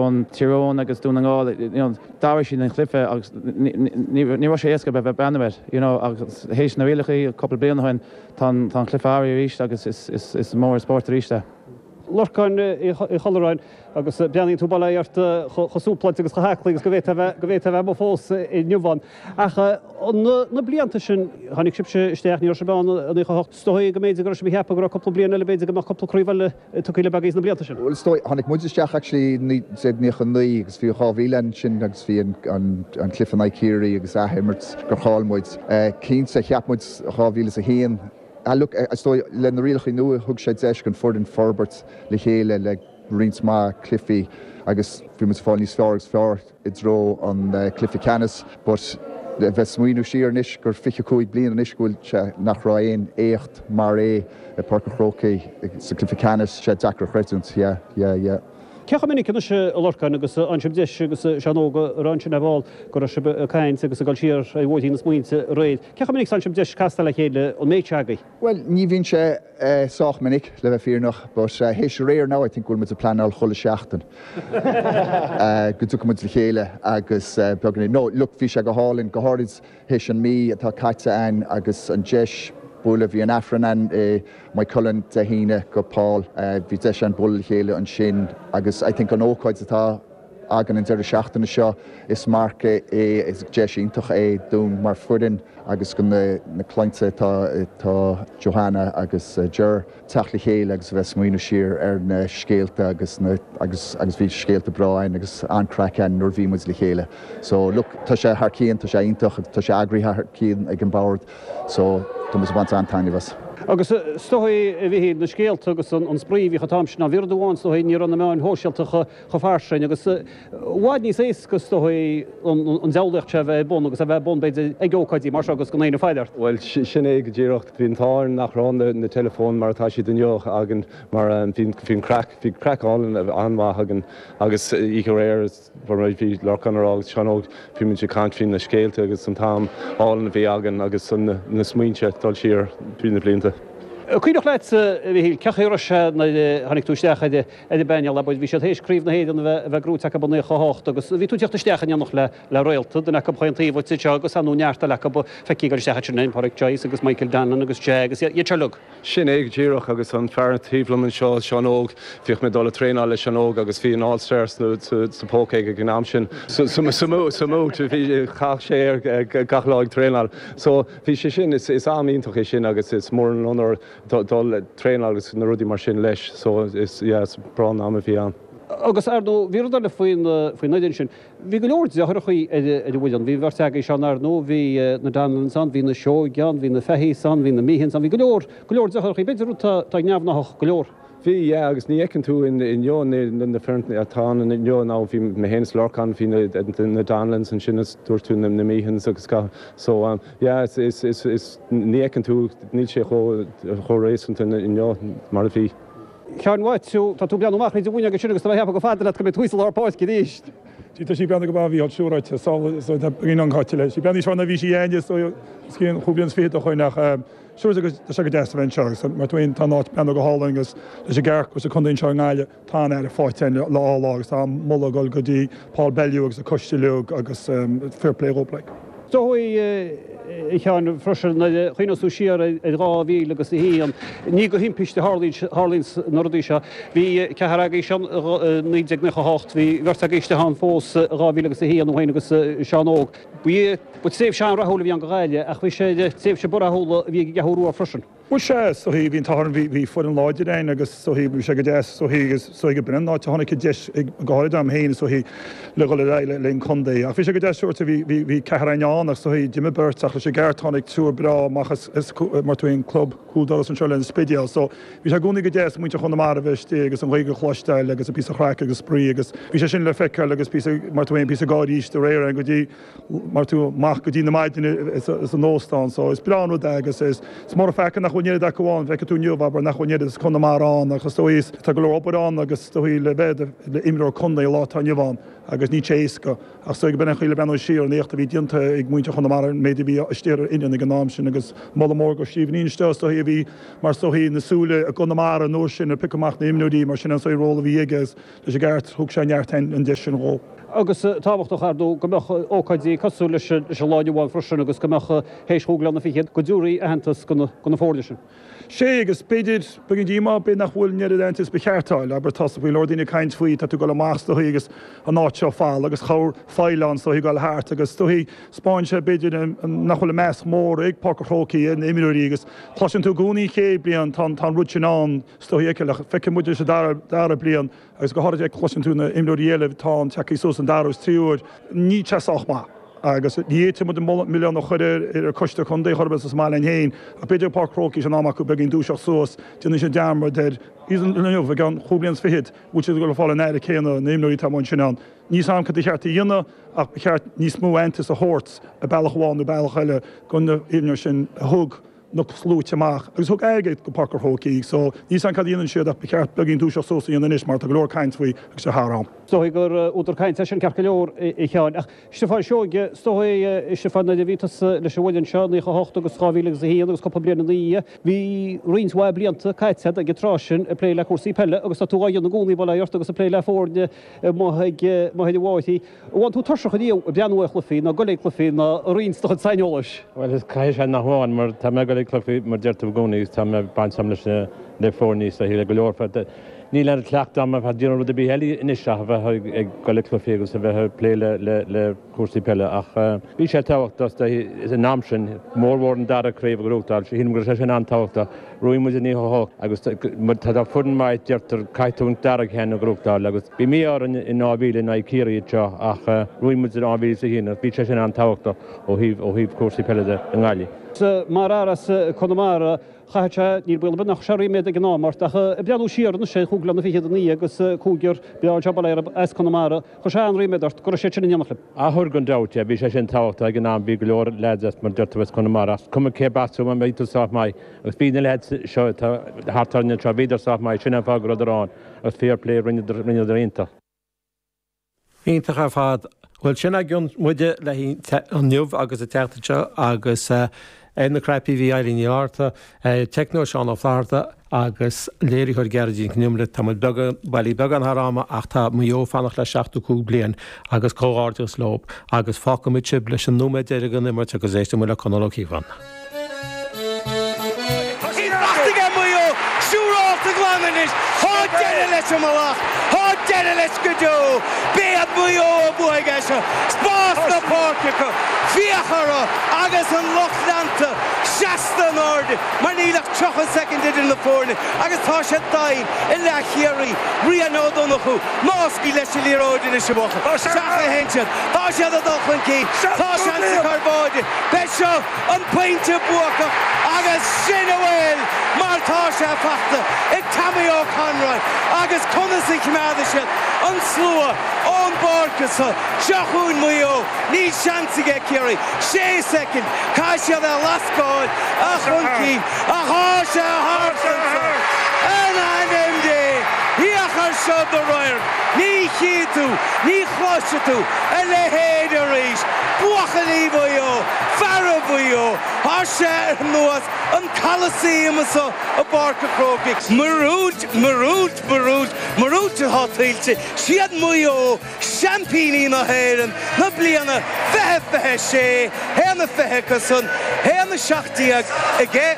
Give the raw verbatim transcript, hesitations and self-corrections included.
Eoin Tír Eoghain agus Dún na nGall you know, d'athraigh siad an cluiche agus ní raibh sé éasca bheith breathnú air you know, agus théis na rialacha cúpla bliain ó shin tá an cluiche arís agus is, is, is mór spórt arís é. Lorcán Uí Cholláin agus breathnaíonn tú bailí ort chosúpláid agus chothaclaí agus go bhféadfá go bhféadfá bheith fós inniu Ach na blianta sin tháinig sibhse isteach ní raibh sibh ann i naocha hocht. Is dóigh go mb'fhéidir go raibh sibh ag ceapadh go raibh cúpla bliain eile b'fhéidir go mbeadh cúpla craobh eile tugtha le beagaí na blianta sin. Well is dóigh tháinig muid isteach actually naoi déag naocha naoi agus bhí dhá mhíle ansin agus bhí an cluiche in aghaidh Ciarraí agus athimirt gur chaill muid. Cinnte cheap muid dhá mhíle is a haon Ah, look, is dóigh le na rialacha nua thug sé deis don fhoireann forbairt le chéile le roinnt maith cluichí agus bhí muid fáil níos fearr agus fearr i dtreo an uh, cluiche ceannais, but le bheith smaoineamh siar anois gur fiche cúig bliain anois go bhfuil sé nach raibh aon éacht mar é i Páirc an Chrócaigh sa cluiche ceannais sé deacair a chreidiúint, yeah, yeah, yeah. Cé chomh minic anois a Lorcáin agus an sib deis agus Seán Óg a rá sin a bhall go raibh sibh ag caint agus ag dul siar ar bhóithrín na smaointe aréir. Cé chomh minic an sib deis castáil le chéile an méid agaibh? Well, ní bhíonn sé uh, sách minic le bheith fírinneach, but uh, théis aréir now I think bhfuil muid ag pleanáil chuile seachtain. uh, go dtiocfaidh muid le chéile agus uh, beagán no, look bhí sé go hálainn go háirid théis an mí atá caite againn agus an deis bualadh bhí an Aifreann ann i Maigh Cuilinn Dé hAoine go Paul uh, bhí deis an bualadh le chéile ansin agus I think an ócáid atá againn an deireadh seachtaine seo is marc é is deis iontach é dúinn mar foireann agus go na, na clainne tá tá Johanna agus uh, Ger teacht le chéile agus bheith smaoineamh siar ar na scéalta agus na, agus, agus bhí scéalta breá againn agus an-chraic againn nuair bhí muid le chéile. So look, tá sé thar cionn, tá sé iontach, tá sé eagraithe thar cionn ag an bord, so tá muid ag baint an-taitneamh as. Agus is dóigh a bhí na scéalta agus an spraoi bhí an t-am sin ná bhí amháin is dóigh ní raibh na meáin shóisialta chomh fairsing agus i bhfad níos éasca is dóigh an diabhlaíocht se bheith bun agus a bheith bun b'fhéidir ag ócáidí mar seo agus go n-aon fáidir. Well sin é go díreach bhí an t-am nach raibh na, na teileafóin mar atá siad inniu againn mar bhí bhí craic bhí craic an an-mhaith againn agus oíche aréir bhí Lorcán ar agus Seán Óg bhí muid ag caint faoi na scéalta agus an t-am álainn a bhí againn agus an na smaointe dul siar trí na blianta. Cuireach leat bhí cecha se na tháinig tú isteach ar ar an bpainéal bhí siad théis craobh na hÉireann a bheith gnóthaithe acu naocha hocht agus bhí tú teacht isteach in éineacht le le réalta den acu chuon taobh seo agus anú neart le acu feicí go isteach sin Pádraic Joyce agus Michael Donlan agus Je agus iad seo uilig. Sin é go díreach agus an fear taobh liom anseo Seán Óg bhíodh mé dul ag traenáil le Seán Óg agus bhí an All-Stars sa póca ag an am sin. Samú bhí chaith sé ar gach lá ag traenáil. So bhí sé sin is is am iontach é sin agus is mór an onóir dul traenáil agus na rudaí mar sin leis, so is yeah, is breá an am a bhí ann. Agus ar ndóigh bhí rud eile faoin faoin fhoireann sin. Bhí go leor deartháireacha ar ar an bhfoireann, bhí bheirt agaibh Seán ar ndóigh, bhí na Donlans ann, bhí na Seoighe ann, bhí na Fahy's ann, bhí na Meehans ann, bhí go leor go leor deartháireacha, b'fhéidir rud tá neamhghnách go leor. Bhí yeah, agus ní fheiceann tú inniu na foirne atá inniu ná bhí mé féin Lorcán bhí na Donlans ansin is dúirt tú na Meehans agus ga so um, yeah, is, is, is, is ní fheiceann tú níl sé chomh réasúnta inniu mar a bhí. Cean tú tá tú breathnú amach ní bhaine agus sin agus tá go fada leat go mbeidh tú sa lár páirce arís. Tá sí breathnú go bhí siúráite an cáite leis. Sí breathnú seo bhí sí enne cén chúblion fiche a chuinach Siúr agus tá sé go deas a bheith anseo agus mar tú tá áit breathnú go hálainn agus leis an gceart agus an contae anseo i nGaillimh tá an aire fáite lá lá agus tá moladh dul go dtí Paul Bellew agus a coiste uilig agus fair play dhóibh like. Dóigh chean freisin chuoú siar ar dhá mhíle agus a haon ní go himpiste tharlaíonn na rudaí seo. Bhí ceathrar agaibh sin naoi déag naocha hocht, bhí bheirt agaibh ann fós dhá mhíle agus a haon ó agus Seán Óg. Bhí tréimhse an-rathúil a bhí ann do Ghaillimh ach bhí sé tréimhse rathúil a bhí ag geathúrú freisin. Bhuel sé so bhí tá bhí foireann láidir againn agus so bhí sé go deas so agus so go binn ná tháinig deis go háirid am féin so le go le le an contae. Ach bhí sé go deas siúrta bhí bhí ceathrar ann ach so d'imigh beirt ach leis an gceart tháinig triúr breá amach is mar tú an club cúldoras anseo le an Spidéal. So bhí sé i gcónaí go deas muintir Chonamara bheith istigh agus an Ghaeilge a chloisteáil agus a píosa craic agus spraoi agus bhí sé sin le feiceáil agus píosa mar tú aon píosa gáirí de réir an go dtí mar tú amach go dtí na maidine is an óstán, so is breá rud é agus is is mór fecha nach bhfuil an oiread acu ann, feicfidh tú inniu, abair, nach bhfuil an oiread as Conamara ann agus is dóigh tá go leor obair ann agus is dóigh le bheith le imreoir contae lá atá inniu ann agus níl sé éasca. Ach is dóigh go b'in an chaoi le breathnú siar an éacht a bhí déanta ag muintir Chonamara an méid a bhí istigh ar an fhoireann ag an am sin agus moladh mór go Stephen Inste is dóigh a bhí mar is dóigh na súile i gConamara an uair sin ag piocadh amach na imreoirí mar sin an saghas ról a bhí aige agus leis an gceart thug sé neart an deis sin dhó. Agus tábhachtach ar ndóigh go mbeadh ócáidí cosúil leis an lá inniu ann freisin agus go mbeadh théis chúig bliana fichead go dtabharfaí aitheantas do na foirne sin. Sé agus b'fhéidir beagán díomá b'fhéidir nach bhfuil an oiread aitheantais ba cheart a fháil. Abair tá go leor daoine ag caint faoi tá tú ag dul amach is dóigh agus an áit seo fal agus chabhair faill ann is dóigh ag dul thart agus is dóigh 'spáin sé b'fhéidir nach bhfuil an meas mór ag Páirc an Chrócaigh ar na imreoirí agus cloiseann tú i gcónaí an chéad bliain tá an rud sin ann is dóigh ach feicfidh muid leis an dara dara bliain agus go háirithe cloiseann tú na imreoirí eile atá an tagtha suas an dara is tríú huair níl sé sách maith. Agus ní fhéadfaidh muid an milleán a chur ar an choiste contae chor ar bith is maith linn féin ach b'fhéidir Páirc Chrócaigh in am acu beagán dúiseacht suas déanann siad dearmad ar inniu i gceann chúig bliana is fichead bhfuil siad ag dul ag fáil an aire céanna na imreoirí atá ansin ann. Níl 's a'm cad ba cheart a dhéanamh ach ba cheart níos mó aitheantas a thabhairt i bealach amháin nó bealach eile do na imreoirí sin a thug na sluaite amach agus thug airgead go Páirc an Chrócaigh so níl 's a'm cad a dhéanann siad ach ba cheart beagán dúiseacht suas a dhéanamh anois mar tá go leor caint faoi agus sé thar am. Is dóigh gur údar cainte é sin ceart go leor a Sheáin. Ach Stiofán Seoige, is dóigh Stiofán nuair a bhí tusa leis an bhfoireann seo, naocha a hocht agus dhá mhíle agus a haon agus cúpla bliain ina dhiaidh, bhí roinnt mhaith blianta caite agat ag an tráth sin ag plé le cúrsaí peile agus tá tú á dhéanamh i gcónaí bail ó Dhia ort agus ag plé le foirne amuigh ag amuigh ar an bhfaiche. An bhfaigheann tú tuirseach ariamh ag breathnú ar chluichí nó ag dul ag cluichí nó ag roinnt do chuid saineolais? Bhuel, is caithfidh sé nach bhfaigheann mar tá mé ag dul ag cluichí mar deir tú i gcónaí agus tá mé baint agam leis na le foirne is le go leor fad. Níl aon chleachtadh agam a bheith ag déanamh rud ar bith eile anois ach a bheith ag dul ag cluichí agus a bheith ag plé le le le cúrsaí peile ach bhí sé tábhachtach san am sin, mórmhór an dara craobh a ghnóthachtáil, sílim go raibh sé sin an-tábhachtach. Bhuaigh muid i naocha a hocht agus tá tá foireann maith deirtear caithfidh tú an dara ceann a ghnóthachtáil agus bhí mí-ádh orainn in dhá mhíle in aghaidh Ciarraí anseo ach bhuaigh muid in dhá mhíle is a haon agus bhí sé sin an-tábhachtach ó thaobh ó thaobh cúrsaí peile de i nGaillimh. Mar fhear as Conamara, chaithfeadh sé, níl baol ar bith nach raibh sé ríméad ag an am ort, ach ag breathnú siar anois ar chúig bliana fichead ina dhiaidh agus cúigear breá anseo bail ó Dhia orthu as Conamara, chuir sé an-ríméad ort go raibh siad sin in éineacht libh. Ah chuir gan dabht, yeah, bhí sé sin tábhachtach ag an am, bhí go leor lads as mar deir tú as Conamara, ach cuma cé as tú, má bhí tú sách maith, agus bhí na lads seo atá thart orainn anseo, bhíodar sách maith, sin an fáth go rabhadar ann, agus fair play, rinneadar, rinneadar iontach. Iontach ar fad. Bhuel, sin againn muide le inniu agus an tseachtain seo agus ar na cnaipí bhí Eileen Ní Fhátharta, teicneoir Seán Ó Flatharta agus léiritheoir Gearóidín Nic Con Iomaire. Tá muid beagán, bailí beagán thar am ach tá Maigh Eo ag fanacht le seachtó cúig bliain agus comhghairdeas leo agus fágfaimid sibh leis an nóiméad deiridh den imirt agus éistfidh muid le Conall Ó Cíobháin. Tá sí faighte aige Maigh Eo, siúrálta glan anois, tá deireadh leis an mbealach, tá deireadh leis go deo. B'iad Maigh Eo a bhuafaidh é seo, spás na páirce acu, féach orthu agus an lucht leanta seasta in airde mar níl ach tríocha soicind idir na foirne agus tá sé doimhin i leath Chiarraí. Rian Ó Donnchú, ná scaoil leis an liathróid anois a bhuachaill. Isteach a théann siad, tá siad ag dul chun cinn, tá seans acu ar bháide, beidh seo an pointe buacach agus sin a bhfuil mar tá sé faighte ag Tommy Ó Conroy agus conas a choimeádfaidh siad an slua ón bpáirc seo. Seo chugainn Maigh Eo, níl seans aige Ciarraí, sé soicind, caithfidh siad é a lascáil a chun cinn ach tá sé thart anso in ainm Dé! Féach ar seo do radharc, ní chífidh tú, ní chloisfidh tú a leithéid arís! Buachaillí Mhaigh Eo, feara Mhaigh Eo, tá sé ar nós an Coliseum anso i bPáirc an Chrócaigh. Míorúilt, míorúilt, míorúilt, míorúilt atá tuillte. Siad Maigh Eo seaimpíní na hÉireann na bliana fiche fiche sé, haon a fiche acusan, haon a seacht déag aige.